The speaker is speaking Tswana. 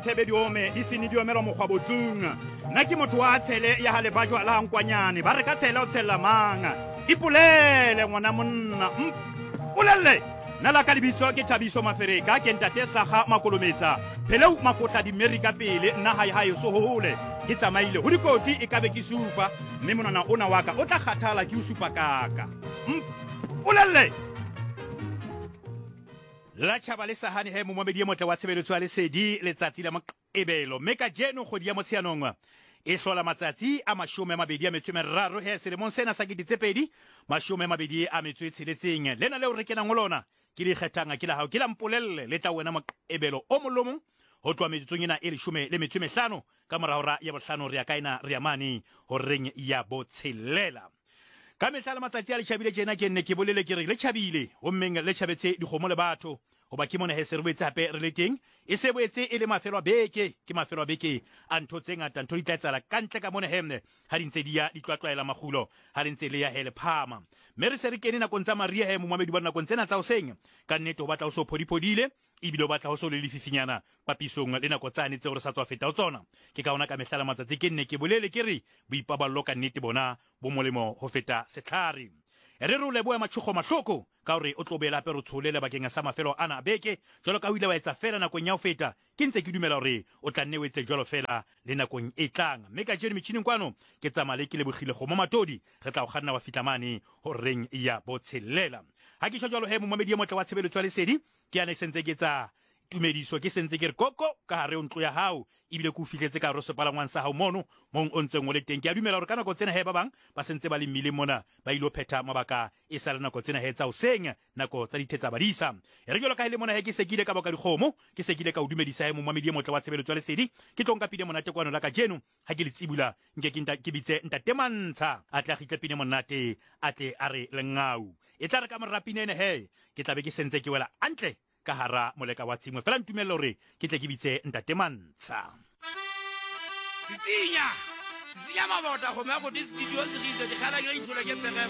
Thebe di ome, di sene di omelwa mokgwabotlung. Nna ke motho wa tshele ya ga lebajwa la nkwanyane. Ba re ka tshele o tshelela mang? Ipolele ngwana monna. Mpolelle. Nna la ka lebitso ke Thabiso Mafereka, ke ntate Saga Makolometsa. Pheleu Mafotla dimeri ka pele, nna hae hae so hole. Ke tsamaile ho dikoti e kabe ke supa, mme monwana ona wa ka o tla kgathala ke o supa kaka. Mpolelle. La tjhaba le sa hane he momamedi e motle wa tshebeletso ya Lesedi letsatsi la Moqebelo. Mme kajeno kgwedi ya Motsheanong e hlola matsatsi a 23 he selemong sena sa 2026. Lena leo re kenang ho lona ke le ikgethang ke la hao ke la mpolelle le tla wena Moqebelo o mong le o mong ho tloha metsotsong ena e 15 ka mora hora ya bohlano re ya kae na re ya mane horeng ya botshelela. Ka mehla le matsatsi a le tjhabile tjena ke nne ke bolele ke re le tjhabile gommeng le tjhabetse dikgomo le batho goba ke mona he se re boetse hape re le teng e se boetse e le mafelo a beke ke mafelo a beke a ntho tse ngata ntho di tla etsala ka ntle ka mona he ha di ntse di ya di tlwatlwaela makgulo ha le ntse le ya he le phama mme re se re kene nakong tsa maria he momamedi ba nakong tsena tsa hoseng ka nnete ho batla ho so phodiphodile ebile o batla ho so le lefifinyana papisong le nako tsane tseo re sa tswa feta ho tsona ke ka ona ka mehla le matsatsi ke nne ke bolele ke re boipaballo ka nnete bona bo molemo ho feta sehlare. Re re o lebohe Matšhogo Mahloko ka gore o tlo boela hape re tshole lebakeng sa mafelo ana a beke jwalo ka o ile wa etsa feela nakong ya ho feta. Ke ntse ke dumela gore o tla nne o etse jwalo feela le nakong e tlang. Mme kajeno metjhining kwano ke tsamaya le Kelebogile Kgomo Matodi, re tla o kganna wa fihla mane horeng ya botshelela. Ha ke tjho jwalo he momamedi e motle wa tshebeletso ya Lesedi, ke yana e sentse ke tsa tumediso ke sentse ke re koko ka gare o ntlo ya gago ebile ke o fihletse ka gare sepalangwang sa gago mono mong o ntseng o le teng. Ke a dumela gore ka nako tsena he ba bang ba sentse ba le mmileng mona ba ile phetha mabaka e sa le nako tsena he tsa hoseng nako tsa dithetsa badisa. E re jalo ka e le mona he ke se ke ile ka boka dikgomo ke se ke ile ka o dumedisa he momamedi e motle wa tshebeletso ya Lesedi ke tlo nka pine monate kwano la kajeno ha ke le tsibula nke ke ke bitse ntate Mantsha a tle a gitle pine monate a tle a re lengau e tla re ka mora pine ene he ke tla be ke sentse ke wela antle ka hara moleka wa tshimo. Fela ntumelle hore ke tle ke bitse ntate Mantsha. Tsitsinya, tsitsinya mabota, kgomo ya gote studio se rile, dikgala ke ditholo ke pereko.